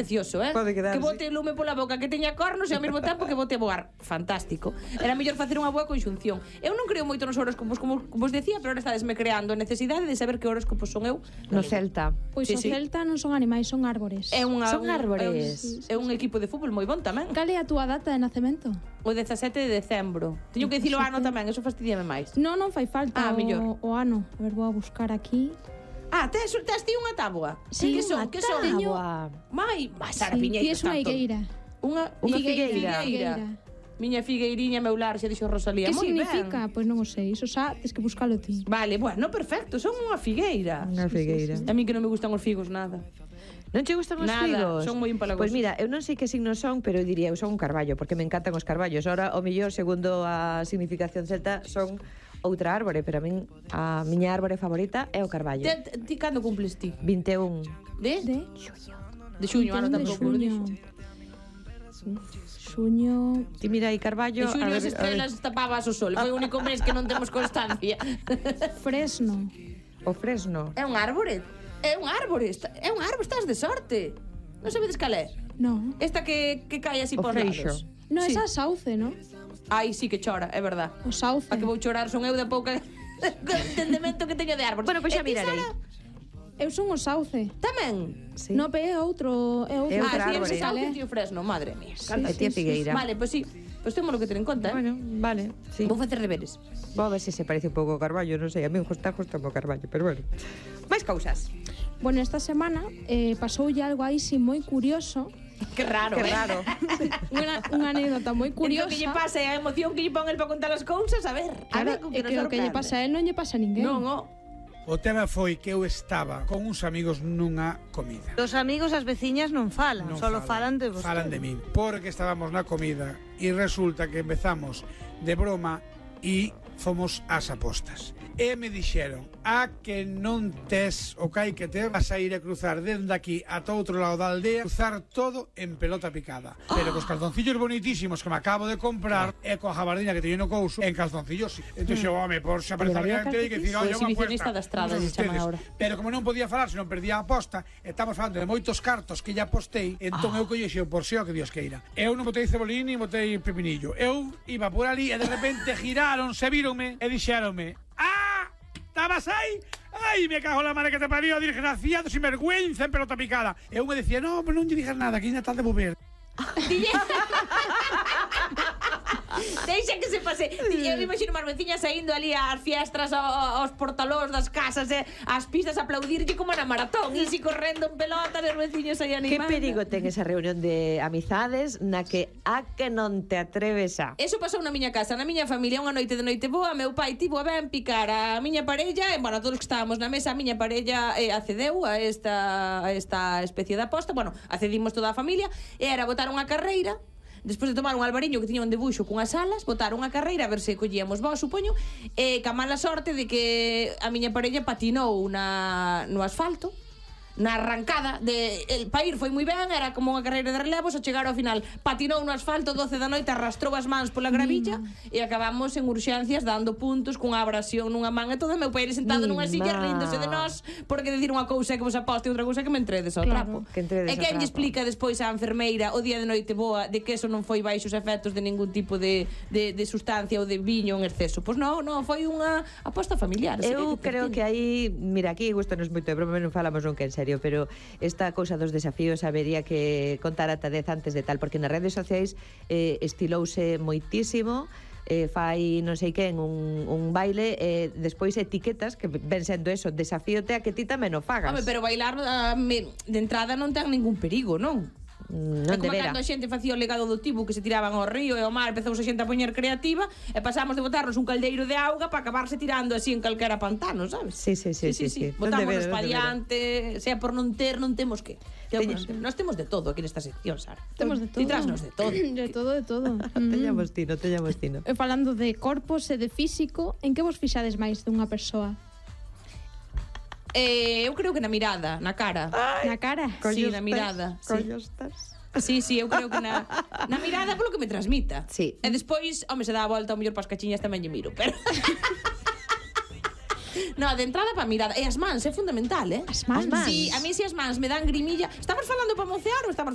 precioso, Pode quedar, que bote lume pola boca, que teña cornos e ao mesmo tempo que bote voar. Fantástico. Era mellor facer unha boa conxunción. Eu non creo moito nos horóscopos, como vos decía, pero ahora estadesme creando a necesidade de saber que horóscopos son eu. No Celta. Pois Sí, o sí. Celta non son animais, son árbores. Son árbores. É un equipo de fútbol moi bon tamén. Cal é a túa data de nacemento? O 17 de decembro. Teño que dicilo o ano tamén, eso fastidiame máis. Non fai falta mellor. o ano. A ver, vou a buscar aquí. Tes ti unha táboa? Sí, que son? unha Que son? táboa. Mai, Sara Sí, Piñeiro. ti es unha higueira. Unha figueira. Miña figueiriña meu lar, xa dixo Rosalía. Que Moi significa? Ben. Pois non o sei, iso xa tes que buscalo ti. Vale, bueno, perfecto, son unha figueira. Unha figueira. A mí que non me gustan os figos nada. Non che gustan os Nada, figos? son moi empalagosos. Pois mira, eu non sei que signos son, pero eu diría, eu son un carballo, porque me encantan os carballos. Ora, o mellor, segundo a significación celta, son outra árbore, pero a min a miña árbore favorita é o carballo. Ti cando cumples ti? 21. De? De xuño, ano 21 de tampouco lo dixo. Xuño. Ti mira aí carballo, En xuño as estrelas tapabas o sol. Foi o único mes que non temos constancia. Fresno. o fresno. É un árbore. É un árbore. É un árbore, estás de sorte. Non sabedes cal é? No. Esta que cae así O por freixo. lados. No, Sí. esa sauce, ¿no? Ai, sí que chora, é verdad. O sauce. A que vou chorar son eu da pouca entendemento que teño de árbores. Bueno, pois xa E ti, mirarei. Sara, Eu son o sauce. Tamén? Sí. No, pero é outro. É outro. É outra ti árbore. eres sauce, tío fresno, madre mía. E ti é figueira. Vale, pois sí. Pois temos que ter en conta, Bueno, vale, sí. Vou facer deberes. Vou a ver se se parece un pouco ao carballo, non sei, a mí gusta justo o carballo, pero bueno. Máis cousas. Bueno, esta semana pasoulle algo aí sí moi curioso. Que raro, Que raro. Unha anécdota moi Curioso. curiosa. Que lle pasa a emoción que lle pon el para contar as cousas, a ver. A ver, con E que o que lle pasa a él non lle pasa a ninguén. Non, O tema foi que eu estaba con uns amigos nunha comida. Os amigos as veciñas non falan, Non solo falan de vos. Falan de min, porque estábamos na comida e resulta que empezamos de broma e fomos ás apostas. E me dixeron, a que non tes o que hai que ter, vas a ir a cruzar dende aquí ata outro lado da aldea, cruzar todo en pelota picada. Pero cos calzoncillos bonitísimos que me acabo de comprar e coa jabardina que teño no couso, en calzoncillos. Entón, home, por xa aparece Pero había alguén que dicir, calzoncillos? "Oye, O unha exhibicionista apuesta". da estrada, Todos se chama ustedes. ahora. Pero como non podía falar, se non perdía a aposta, estamos falando de moitos cartos que ya apostei, entón eu collexo por xeo que Dios queira. Eu non botei cebolín ni botei pepinillo. Eu iba por ali e de repente giraron, se víronme e dixéronme: "Ah, estabas aí? Ai, me cago en la madre que te parió, desgraciado, sin vergüenza en pelota picada". E eu me decía: "No, pero non lle digas nada, que ainda tal de volver". Deixa que se pase. Eu imagino máis veciñas saindo ali ás fiestras, aos portalós das casas, ás pistas a aplaudirlle como na maratón, e si correndo en pelotas, os veciños aí Que animando. perigo ten esa reunión de amizades na que a que non te atreves a... Eso pasou na miña casa, na miña familia, unha noite de noite boa, meu pai tivo a ben picar a miña parella, e, bueno, todos que estábamos na mesa, a miña parella accedeu a esta especie de aposta, bueno, accedimos toda a familia, e era botar unha carreira. Despois de tomar un albariño que tiña un debuxo cunhas alas, botar unha carreira a ver se collíamos vos, supoño, e ca mala sorte de que a miña parella patinou no asfalto, na arrancada el pair foi moi ben, era como unha carreira de relevos, ao chegar ao final patinou no asfalto 12 da noite, arrastrou as mans pola gravilla e acabamos en urxencias dando puntos cunha abrasión nunha man e todo, meu pai sentado nunha silla ríndose de nós, porque decir unha cousa é que vos aposte e outra cousa é que me entredes ao trapo. que entredes E ao quen lle trapo. explica despois á enfermeira o día de noite boa de que eso non foi baixo os efectos de ningún tipo de sustancia ou de viño en exceso? Pois non, foi unha aposta familiar. Eu creo que aí, mira, aquí gustanos moito de broma, non falamos nunca en serio, pero esta cousa dos desafíos habería que contar ata 10 antes de tal, porque nas redes sociais estilouse moitísimo, fai non sei quen un baile e despois etiquetas que ven sendo eso, desafíote a que ti tamén o fagas. Home, pero bailar de entrada non ten ningún perigo, non? Non É como debera. cando a xente facía o legado do tibu que se tiraban ao río e ao mar, empezou a xente a poñer creativa e pasamos de botarnos un caldeiro de auga para acabarse tirando así en calquera pantano, sabes? Sí. Botámonos pa diante, sea por non ter, non temos que. Nós temos de todo aquí nesta sección, Sara. Temos de todo. Ti trasnos de todo. De todo, de todo. Teñamos tino. E falando de corpos e de físico, en que vos fixades máis dunha persoa? Eu creo que na mirada, na cara. Na cara? Sí, na mirada. Sí. Collostas. Sí, eu creo que na mirada polo que me transmita. Sí. E despois, home, se dá a volta ao mellor pas cachiñas tamén lle miro, pero no, de entrada pa mirada. E as mans, é fundamental, As mans? Sí, a mí se as mans me dan grimilla. Estamos falando para mocear ou estamos